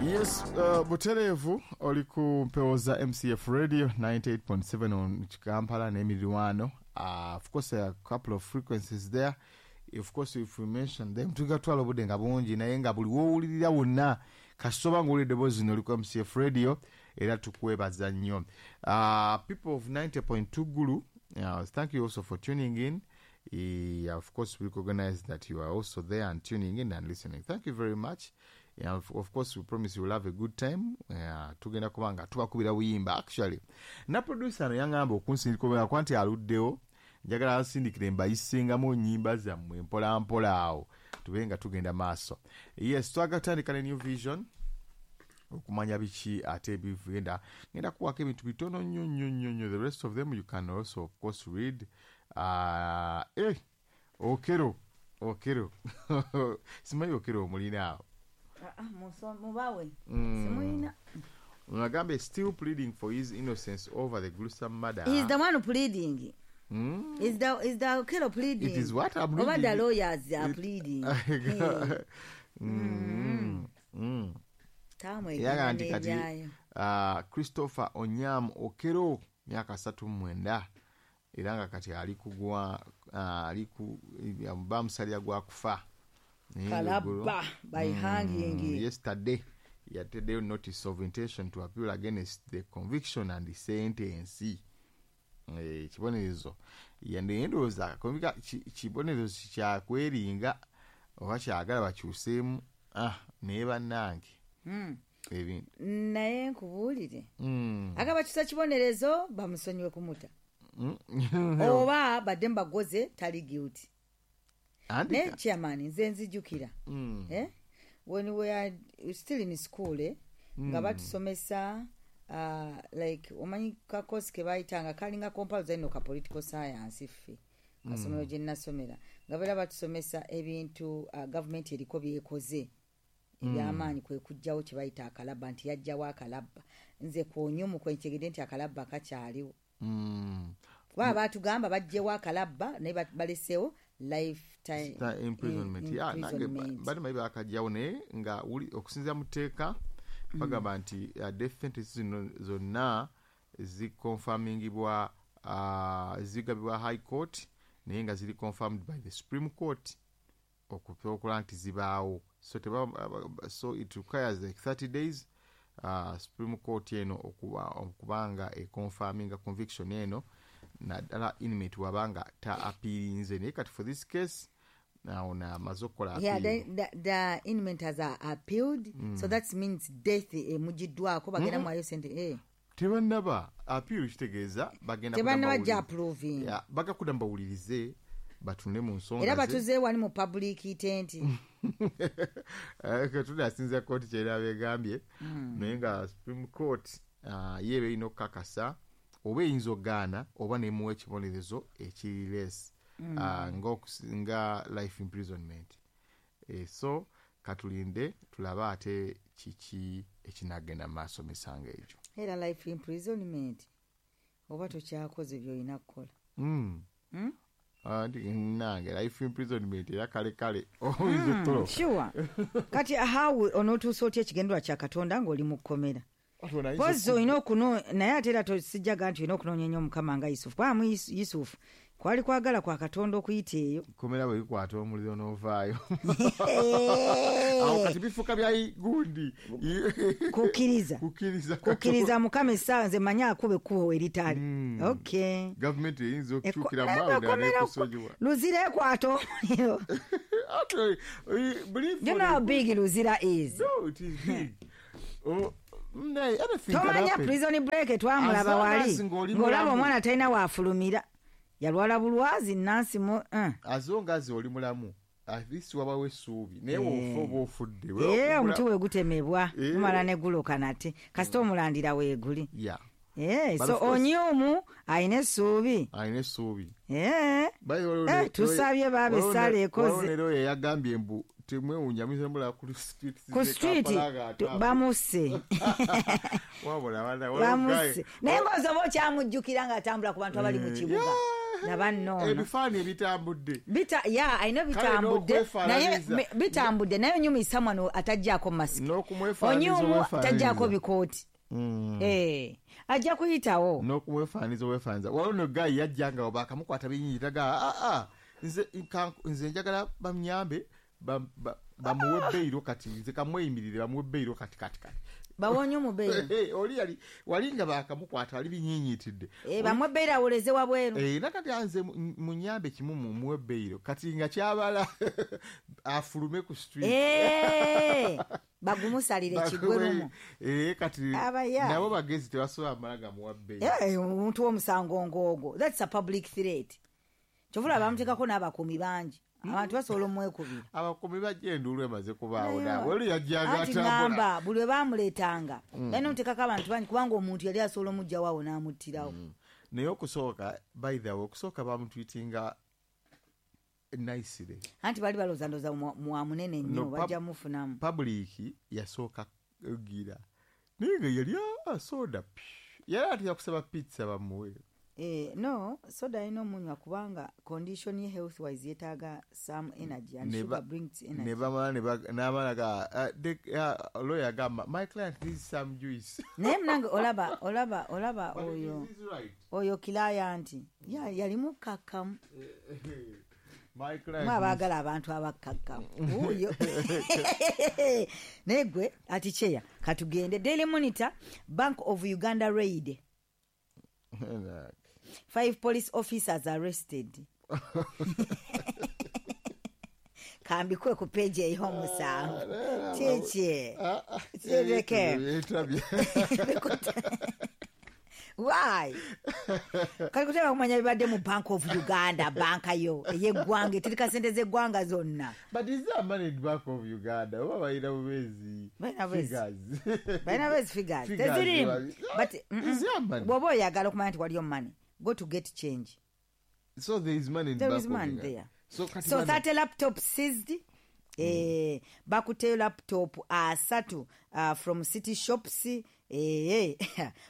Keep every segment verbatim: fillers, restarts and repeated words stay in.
Yes, uh, butereevu oli ku mpewo za M C F Radio ninety-eight point seven on Kampala n'emiriraano. Uh, of course, a couple of frequencies there. Of course, if we mention them, tugatwala obudde nga bungi, naye nga buli woowulirira wonna kasoba ng'owulira eddoboozi zino, oli ku M C F Radio era tukwebaza nnyo. Uh, people of ninety point two Gulu, uh, thank you also for tuning in. Uh, of course, we recognize that you are also there and tuning in and listening. Thank you very much. Yeah, of, of course, we promise you will have a good time. Uh, tugenda kuba nga tubakubira buyimba. Actually, na producer no yaŋŋamba okunsindika kuba nti aluddewo, njagala ansindikire mbayisingamu nnyimba zammwe mpola mpola awo tube nga tugenda maaso. Yes, twagala tutandika ne New Vision okumanya biki ate bigenda. Ngenda kuwako ebintu bitono nnyo nnyo nnyo nnyo. The rest of them you can also, of course, read. uh, eh, Okello Okello simanyi Okello omulina awo? Ah, ah, muso- mubawe Mm. simulina. Agambe still pleading for his innocence over the gruesome murder. He's the one pleading. Mm? Is the is the Okello pleading? It is what I'm Oba reading. the lawyers are It- pleading. Hey. Mm. Mm. Tamwe Yaga nti kati n'ebyayo. uh, Christopher Onyam Okello, myaka asatu mu mwenda, era nga kati ali kugwa uh, ali ku bamusalira gwa kufa. Naye Kalabba ng'eggulo- by hanging. Mm, yesterday yateddeyo notice of intention to appeal against the conviction and the sentence. Eh, ekibonerezo naye ndowooza convica- ki- kibonerezo kyakweringa oba kyagala bakyuseemu. Ah, naye bannange, Mm. ebintu. Naye nkubuulire, Mm. aga bakyusa kibonerezo bamusonyiwe kumuta Mm. oba badde mubagoze tali guilty. Andika. Naye chairman, nze nzijukira, Mm. eh? When we are still in school, eh? Nga batusomesa, uh, like omanyi kakosi ke bayitanga kalinga compulsory no ka political science, ffe kasomero gye nnasomera nga beera batusomesa ebintu, uh, gavumenti eriko byekoze ebyamaanyi, kwe kujjawo kye bayita akalabba, nti yajjawo akalabba. Nze kwonyumu kwenkyegedde nti akalabba kakyaliwo, Mm. kuba baatugamba bajjewo akalabba naye ba- baleseewo lifetime Ta- imprisonment. Yeah, nange imprisonment. bali mayi bakajjawo, naye nga wuli- okusinziira mu tteeka bagamba nti uh, death sentence zino zonna ziconfirmingibwa, uh, zigabibwa High Court, naye nga ziri confirmed by the Supreme Court okukola nti zibaawo. So teba, so it requires like thirty days, uh, Supreme Court eno okuba okubanga econfirminga conviction eno, naddala inmate wabanga ta appealinze. Naye kati for this case ono amaze okukola Yeah, appeal. the, the, the inmate has uh, appealed, so that means death emugiddwako, bagenda mwayo sente, eh. Tebannaba appeal, kitegeeza bagenda Tebannaba kudda gya mbawulirize. approving. Yeah, baga kudda mbawulirize batunde mu nsonga Era ze. batuze wali mu public tent. Eh, tunasinza kooti kyera begambye, naye nga Supreme Court ah, ye eba erina okukakasa oba eyinza okugaana oba nemuwa ekibonerezo ekiri less, ah, ng'okusi- nga life imprisonment. Eh, so katulinde tulabe ate kiki ekinagenda mu maaso misango egyo. Era life imprisonment oba tokyakoze byolina kukola. Mm. Mm? Ah, ndi- nange life imprisonment era kale kale oyinza okutoloka. Sure, kati how onootuusa otya ekigendwa kya Katonda ng'oli mu kkomera? Pozi olina okuno, naye ate era tosijjaga nti olina okunoonya ennyo Omukama nga Yusufu, kubanga mu Yusu- yusufu kwali kwagala kwa Katonda okuyita eyo. Komera bwe likwata omuliro n'ovaayo awo kati bifuuka bya gundi. Kukkiriza. Kukkiriza. Kukkiriza Mukama essaawa nze manyi akuba ekkubo eritali. Mm. Okay. Gavumenti eyinza Eko- okukyukira eh, maawo komera- nekusonyiwa. Luzira ekwata omuliro. Actually, eh, believe You know how big Luzira is? No, it is big. Oh, naye anything can Tomanya happen. Prison Break twamulaba As long wali as ng'oli ng'olaba mulamu. Omwana talina waafulumira, yalwala bulwazi nansi mu uh. As long as oli mulamu, at least wabawo essuubi, naye wofa oba ofudde. Ee, omuti wegutemebwa Eh. gumala ne guloka nate kasita omulandira weeguli. Yeah. Eh, But so of course- Onyumu alina essuubi. Alina essuubi. Eh. By the way, Eh, tusabye baaba essaala ekoze. Leero yeyagambye mbu temwewuunya muyinza mulaba ku street Ku z'e street Kampala nga tu- atambula. Bamusse. Wabula, wabula, Bamusse, guy- naye ng'ozoba okyamujjukira ng'atambula ku bantu abali mu Eh, kibuga. Yeah. Laba nno ebifaananyi ebitambudde bita ya alina bitambudde naye bitambudde naye onyuma someone atajjaako masiki onyumu atajjaako bikooti. Mm. Eh, ajja kuyitawo n'okumwefaaniza obwefaaniza. Waliwo no guy yajja nga bakamukwata binyinyitaga ah ah nze nze njagala bamnyambe bamuwe bbeiro kati nze kamweyimirire bamuwe bbeiro kati kati kati bawonye omubeiro. Hey, oli yali wali nga bakamukwata ali binyinyitidde eh bamuwe bbeiro awoleze wabweru eh nakati anze munyambe kimu mumuwe bbeiro kati nga kyabala afulume ku street eh bagumusalire kigwerumu eh kati nabo bagezi tebasobola mala gamuwa bbeiro eh omuntu w'omusango ng'ogwo, that's a public threat. Kyovula bamuteekako n'abakuumi bangi abantu basobola omwekubira abakuumi bajja enduulu emaze kubaawo naawe oli yajjanga atambula buli lwe baamuleetanga balina omuteekako abantu bangi kubanga omuntu yali asobola omuggyawo awo n'amuttirawo. Naye okusooka by the way okusooka bamutwitinga nicely anti bali balowooza ndowooza mwa munene nnyo bajja mufunamu. Public yasooka gira naye nga yali soda yali atya kusaba pizza bamuwe. Eh, no soda alina omunywa kubanga condition ye health wise yetaaga some energy and sugar brings energy. Ne bamala n'amala ga lawyer agamba my client needs some juice. Naye munange olaba olaba olaba oyo oyo client ya yali mukkakkamu. My client mwabaagala abantu abakkakkamu oyo naye gwe ati cheya katugende. Daily Monitor, Bank of Uganda raid, five police officers arrested. Kambikwe ku page ey'omusanvu kiki kireke why kali kutema kumanya bibadde mu Bank of Uganda, banka yo ey'eggwanga etereka sente z'eggwanga zonna. But is there money in Bank of Uganda oba balina bubezi figures balina bubezi figures tezirimu but bw'oba oyagala okumanya nti waliyo money, go to get change. So there is money in there Bank is money of Uganda. There. So, so thirty laptops seized. Mm. Eh, bakuteyo laptop asatu uh, from city shops eh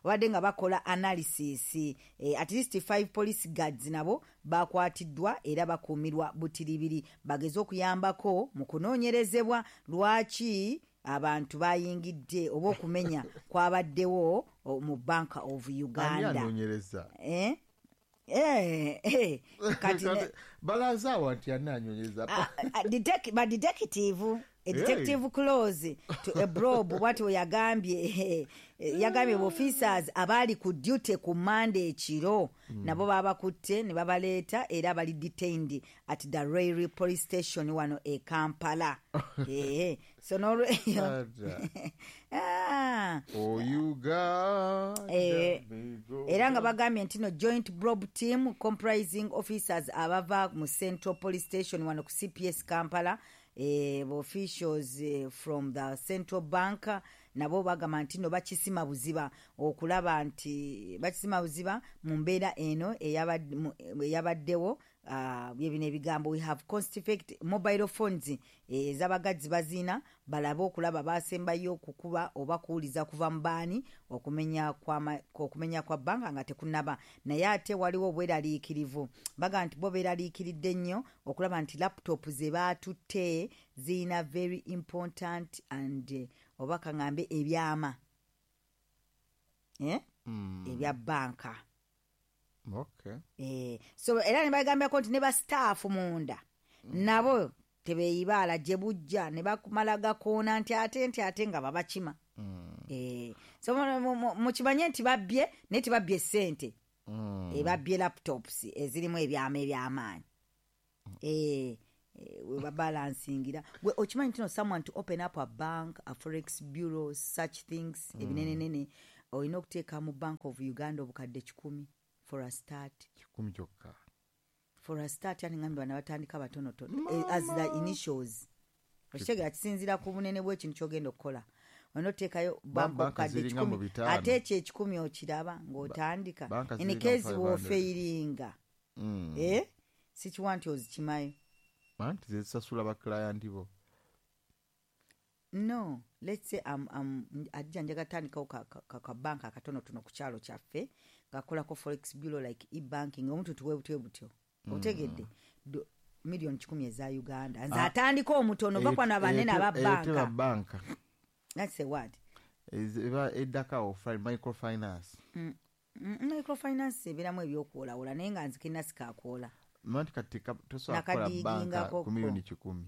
wadde nga bakola analysis eh, at least five police guards nabo bakwatiddwa era bakuumirwa butiribiri bageze okuyambako mu kunoonyerezebwa lwaki abantu bayingidde oba okumenya kwabaddewo mu Bank of Uganda. Eh? Eh, eh, kati balaza wati ananyonyeza detective, detective a detective hey. Close to a probe what yagambye yagambye officers abali ku duty ku Monday ekiro mm. nabo babakutte ne babaleeta era bali detained at the Railway Police Station wano e Kampala. Eh, so no ah oh Uganda eh, era nga bagambye nti no joint probe team comprising officers abava mu Central Police Station wano ku C P S Kampala eh, officials eh, from the Central Bank nabo bagamba nti no bakisima buziba okulaba nti bakisima buziba mu mbeera eno eyabaddewo uh, byebino ebigambo we have confiscated mobile phones ez'abagazi eh, bazina balabe okulaba basembayo okukuba oba kuwuliza kuva mu baani okumenya kwa okumenya kwa banka nga tekunnaba. Naye ate waliwo obweraliikirivu baga nti bo beeraliikiridde nnyo okulaba nti laptop ze baatutte zirina very important and oba kaŋŋambe ebyama eh? mm. ebya banka. Okay. Eh, so era ne bagambako nti ne ba staff munda mm. nabo tebeeyibaala gye bujja ne bakumala gakoona nti ate nti ate nga babakima. Mm. Eh, so mukimanye nti babbye naye tebabbye ssente. Mm. Eh, babbye laptops ezirimu ebyama ebyamaanyi. Mm. Eh, we babalansingira. Gwe okimanyi nti no someone to open up a bank, a forex bureau, such things mm. ebinenenene olina okuteeka mu Bank of Uganda obukadde kikumi for a start. Kikumi kyokka. For a start yani ngambi bana batandika batonotono as the initials. Okitegera kisinziira ku bunene bw'ekintu ky'ogenda okukola. Olina oteekayo bank obukadde kikumi ate ekyo ekikumi okiraba ng'otandika. In case bw'ofeiringa. Mm. Eh? Sikiwa nti ozikimayo. Anti zisasula ba client bo. No, let's say I'm, I'm, ajja njaga tandikawo ka, ka, ka, ka banka akatonotono ku kyalo kyaffe ngakolako forex bureau, like e-banking, omuntu tuwe butyo butyo, otegedde? Do- miliyoni kikumi eza Uganda, nze Ah. atandika omutono bakwana banene aba Teba banka. Banka. That's a word. Eba eddakawo microfinance. Mm, microfinance ebeeramu ebyokwolawula, naye nga nzikirina sikakwola. Manti kati ka- tosobola kukola banka Nakadiigingako ku miliyoni kikumi.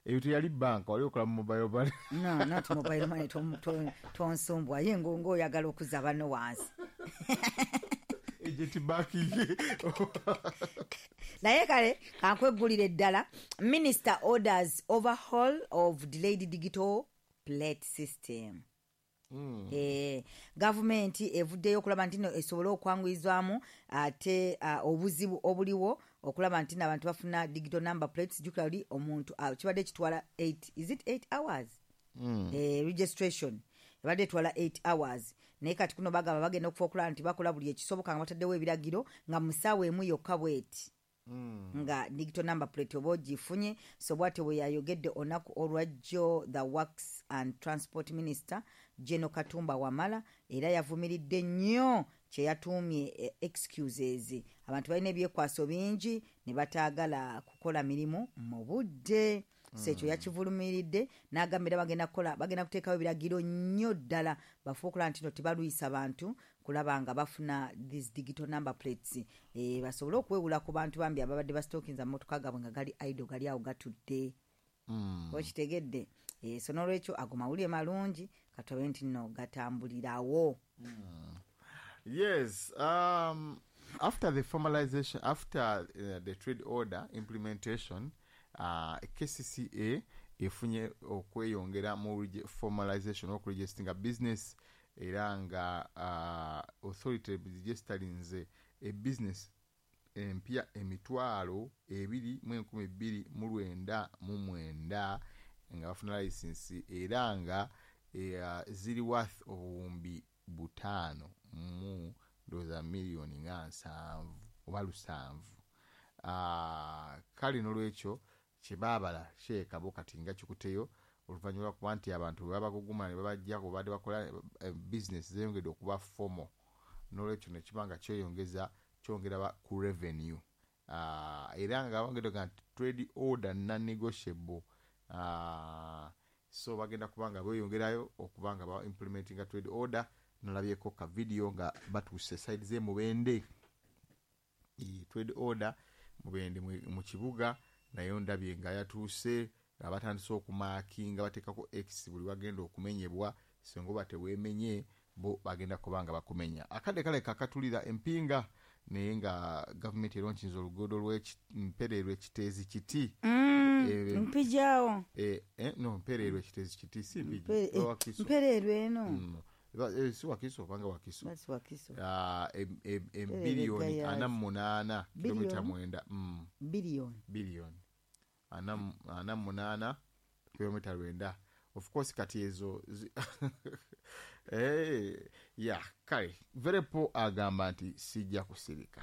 Eyo teyali banka, wali okola mu mobile money. No, not mobile money. tom- to- tonsumbwa ye ngo ng'oyagala okuzza banno wansi. Agent banking. Naye kale kankweggulira eddala. Minister orders overhaul of delayed digital plate system. Mm. Eh, gavumenti evuddeyo okulaba nti no esobole okwanguyizwamu ate uh, obuzibu obuliwo okulaba nti n'abantu bafuna digital number plates. Jjukira oli omuntu uh, kibadde kitwala eight, is it eight hours? Mm. eh, registration ebadde etwala eight hours, naye kati kuno bagamba bagenda okufa okulaba nti bakola buli ekisoboka nga bataddewo ebiragiro nga mu ssaawa emu yokka bweti Mm. nga digital number plate oba ogifunye. So bwatyo bwe yayogedde olunaku olwajjo the Works and Transport Minister General Katumba Wamala, era yavumiridde nnyo kye yatuumye eh, excuses. Abantu balina ebyekwaso bingi ne bataagala kukola mirimu mu budde. So ekyo yakivulumiridde n'agamba era bagenda kukola, bagenda kuteekawo ebiragiro nnyo ddala bafuba okulaba nti no tebalwisa bantu kulaba nga bafuna these digital number plates, e, basobole okuwewula ku bantu bambi ababadde basitokinza amamotoka gaabwe nga gali idle, gali awo gatudde. Mm. Okitegedde? e, so n'olwekyo ago mawulire malungi, katubabe nti nno gatambulirawo. Yes. Um, after the formalization, after uh, the trade order implementation, uh, K C C A efunye okweyongera mu regi- formalization, okuregistinga business, era nga uh, authority registerinze e business empya emitwalo ebiri mu enkumi bbiri mu lwenda mu mwenda nga bafuna license, era nga eh, ziri worth obuwumbi butaano mu ndowooza miliyoni nga nsanvu oba lusanvu. Ah, kale nolwekyo kyebaabala kyekabo kati nga kikuteyo oluvannyuma lwakuba nti abantu bwe babaguguma ne babajjako badde bakola eh, business zeyongedde okuba formal, nolwekyo nekiba nga kyeyongeza kyongera ba- ku revenue. Ah, era nga bongedde nti trade order non negotiable. Ah, so bagenda kuba nga beeyongerayo okuba nga ba implementinga trade order. Nalabyeko ka video nga batuuse side z'e Mubende. Eh, trade order Mubende mu- mu kibuga nayo ndabye nga yatuuse nga batandise okumarkinga, bateekako x buli wagenda okumenyebwa. Singa oba teweemenye, bo bagenda kuba nga bakumenya. Akadde kale kakatulira empinga, naye nga gavumenti eronkinza oluguudo lw'Empereerwe Kiteezi Kiti. Eh, Mpijaawo. eh, eh, no, Mpereerwe Kiteezi Kiti, si Mpigi. Mpe- eh, Wakiso. Mpereerwe eno. Mm. Eba- eh, si Wakiso, obanga Wakiso. That's Wakiso. Ah, em- em- embiliyoni Gayaza. ana mu munaana kilomita Biliyoni? mwenda. Mm, Biliyoni. Biliyoni ana mu- ana mu munaana kilomita lwenda. Of course kati ezo zi- Eh, ya kale verepo agamba nti sijja kusirika.